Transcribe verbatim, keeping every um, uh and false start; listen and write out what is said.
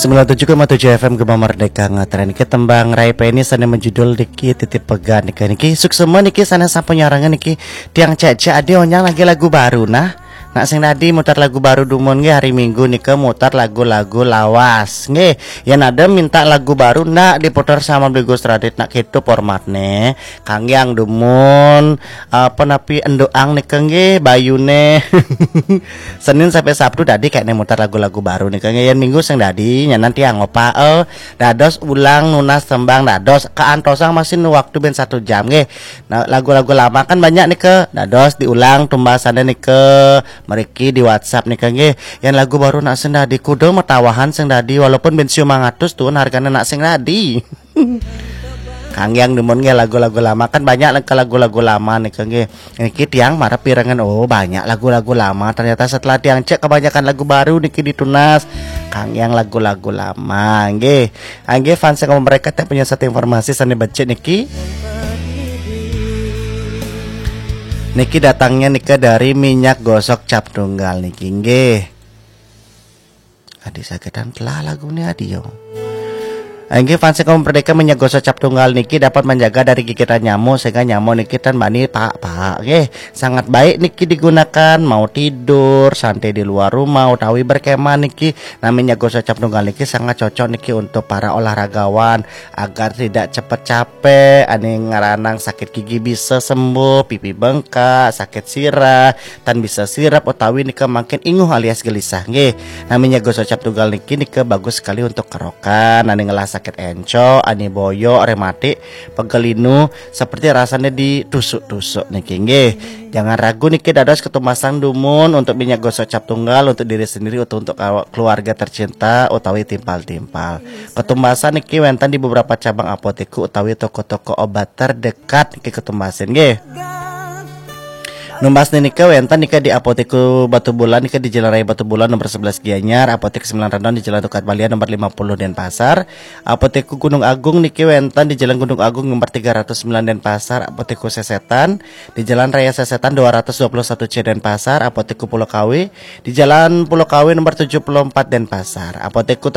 Sembilan tujuh koma tujuh F M Gema Merdeka, ngetren niki tembang Rai Peni sane menjudul niki Titip Pegat niki. Niki suksema niki sane sampun nyarengin niki. Tiang cek-cek ade onyang lagi lagu baru nah. Nak sing dadi mutar lagu baru dumun nggih, hari Minggu nika mutar lagu-lagu lawas. Nggih, yen ada minta lagu baru nak diputar sama Bli Gus Radit nak gitu formatne. Kangge dumun apa napi endoang nika nggih bayune. Senin sampai Sabtu dadi kayaknya mutar lagu-lagu baru nika nggih. Yen Minggu sing dadi nyanan tiang ngopa eh, dados ulang nunas tembang dados keantosang masih waktu ben satu jam nggih. Nah, lagu-lagu lama kan banyak nika dados diulang tumbasane nika meriki di WhatsApp nika nggih. Yen lagu baru nak sing dadi kudu metawahan sing dadi walaupun ben siu mangatus tuun hargane nak sing dadi. Kangge dumun nggih lagu-lagu lama kan banyak nika lagu-lagu lama nika nggih. Niki tiang marep pirengan oh banyak lagu-lagu lama. Ternyata setelah tiang cek kebanyakan lagu baru niki ditunas. Kangge lagu-lagu lama nggih. Nggih fans yang mereka tak punya satu informasi sane becik niki. Niki datangnya nika dari minyak gosok cap tunggal niki nggih. Adi sakitan telah lagu ni adi yo. Nggih fans kaum merdeka minyak gosok cap tunggal niki dapat menjaga dari gigitan nyamuk sehingga nyamuk niki tan bani pak-pak nggih. Sangat baik niki digunakan mau tidur, santai di luar rumah utawi berkemah niki. Nah minyak gosok cap tunggal niki sangat cocok niki untuk para olahragawan agar tidak cepat capek, ane ngaranang sakit gigi bisa sembuh, pipi bengkak, sakit sirah, tan bisa sirap utawi nika makin inguh alias gelisah nggih. Nah minyak gosok cap tunggal niki nika bagus sekali untuk kerokan, ane ngelah sakit encok, ane boyok, rematik, pegel linu, seperti rasanya ditusuk-tusuk niki nggih. Jangan ragu niki dados ketumasan dumun untuk minyak gosok cap tunggal untuk diri sendiri atau untuk kawa- keluarga tercinta utawi timpal-timpal. Ketumasan niki wenten di beberapa cabang apotek utawi toko-toko obat terdekat niki ketumasin nggih. Numbas nika wenten nika di Apotek Batu Bulan nika di Jalan Raya Batu Bulan nomor sebelas Gianyar, Apotek Sembilan Redon di Jalan Tukad Balia nomor lima puluh Denpasar, Apotek Gunung Agung niki wenten di Jalan Gunung Agung nomor tiga ratus sembilan Denpasar, Apotek Sesetan di Jalan Raya Sesetan dua ratus dua puluh satu C Denpasar, Apotek Pulau Kawi di Jalan Pulau Kawi nomor tujuh puluh empat Denpasar, Apotek Toko